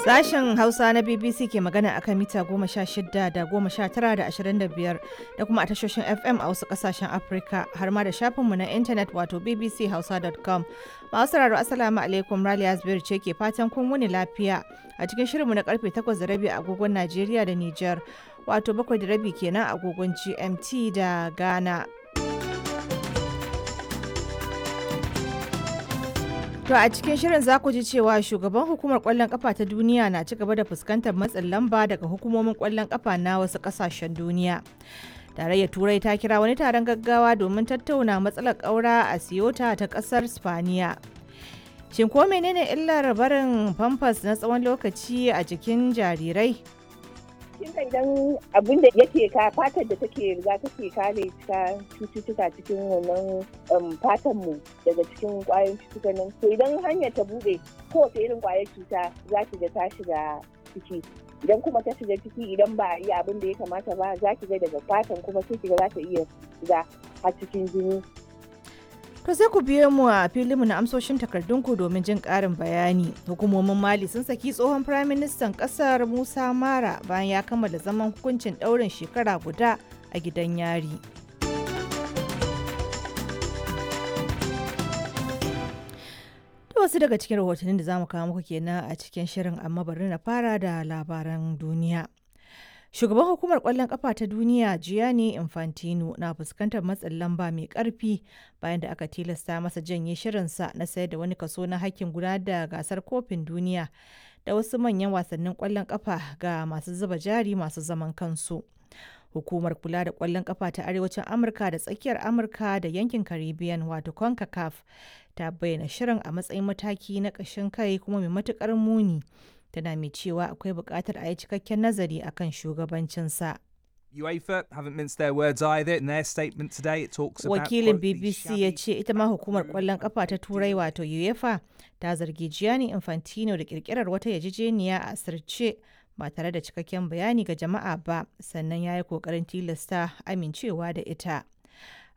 Sashen Hausa na BBC ke magana akan mita 16 da 19 da 25 da kuma a tashoshin FM a wasu kasashen Afirka har ma da shafinmu na intanet wato bbchausa.com. Masu sauraro, Assalamu alaikum, Raliya Zubairu ce ke fatan kun wuni lafiya a cikin shirinmu na karfe 8:30 agogon Najeriya da Nijar, wato 7:30 kenan agogon GMT da Ghana. To a cikin shirin za ku ji cewa shugaban hukumar kwallon kafa ta duniya na ci gaba da fuskantar matsin lamba daga hukumomin kwallon kafa na wasu kasashen duniya. Tarayyar Turai ta kira wani taron gaggawa domin tattauna matsalar ƙaura a Siyota ta ƙasar Spaniya. Shin ko menene illar barin famfas na tsawon lokaci a jikin jarirai? Kin ga idan abin da yake ka fatar da take riga take kare ta cututtuka cikin wannan fatan mu daga cikin kwayoyin cututtukan nan, to idan hanyar ta bude, kowace irin kwayar cuta za ki ga ta shiga ciki. Idan kuma ta shiga ciki, idan ba a yi abin da ya kamata ba, za ki ga daga fatan kuma sai ki ga za ta iya shiga har cikin jini. To sai ku biyo mu a filinmu na amsoshin takardunku domin jin ƙarin bayani. Hukumomin Mali sun saki tsohon firaministan ƙasar Musa Mara bayan ya kammala zaman hukuncin ɗaurin shekara guda a gidan yari. To wasu daga cikin rahotannin da za mu kawo muku kenan a cikin shirin, amma bari na fara da labaran duniya. Shugaban hukumar kwallon kafa ta duniya Gianni Infantino na fuskantar matsin lamba mai karfi bayan da aka tilasta masa janye shirinsa na sayar da wani kaso na hakkin gudanar da gasar kofin duniya da wasu manyan wasannin kwallon kafa ga masu zuba jari masu zaman kansu. Hukumar kula da kwallon kafa ta Arewacin Amurka da tsakiyar Amurka da yankin Caribbean, wato CONCACAF, ta bayyana shirin a matsayin mataki na ƙashin kai kuma mai matuƙar muni. Tana mai cewa akwai buƙatar a yi cikakken nazari akan shugabancinsa. UEFA haven't minced their words either. In their statement today, it talks about Wakilin quote, the BBC ya ce ita ma hukumar kwallon kafa ta Turai wato UEFA ta zargi Gianni Infantino da kirkirar wata yarjejeniya a asirce ba tare da cikakken bayani ga jama'a ba, sannan ya yi kokarin tilasta amincewa da ita.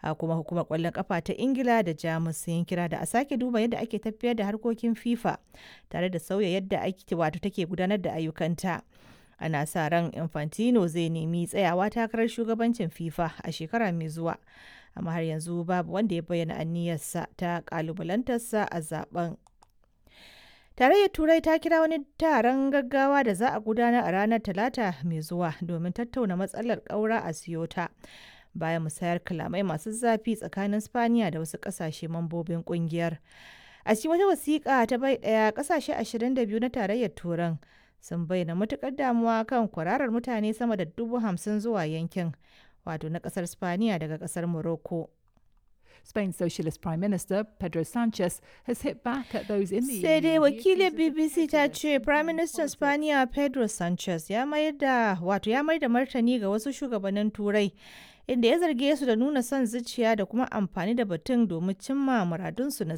A kuma hukumar kwallon kafa ta Ingila da Jamus sun yi kira da a sake duba yadda ake tafiyar da harkokin FIFA tare da sauya yadda ake wato take gudanar da ayyukanta. Ana sa ran Infantino zai nemi tsayawa takarar shugabancin FIFA a shekara mai zuwa, amma har yanzu babu wanda ya bayyana aniyarsa ta kalubalantarsa a zaben. Tarayyar Turai ta kira wani taron gaggawa da za a gudanar a ranar Talata mai zuwa domin tattauna matsalar ƙaura a Siyota, bayan musayar kalamai masu zafi tsakanin Spaniya da wasu ƙasashe mambobin ƙungiyar. A cikin wata wasiƙa ta bai ɗaya, ƙasashe 22 na Tarayyar Turan sun bayyana matuƙar damuwa kan kwararar mutane sama da 50,000 zuwa yankin, wato na ƙasar Spaniya daga ƙasar Morocco. Spain's Socialist Prime Minister Pedro Sanchez has hit back at those in the Sai EU dai he wakilin accuses of BBC ta prejudice ce and Prime playing Minister politics. Spaniya Pedro Sanchez ya mayar da wato ya mayar da martani ga wasu shugabannin Turai, inda ya zarge su da nuna son zuciya da kuma amfani da batun domin cimma muradunsu na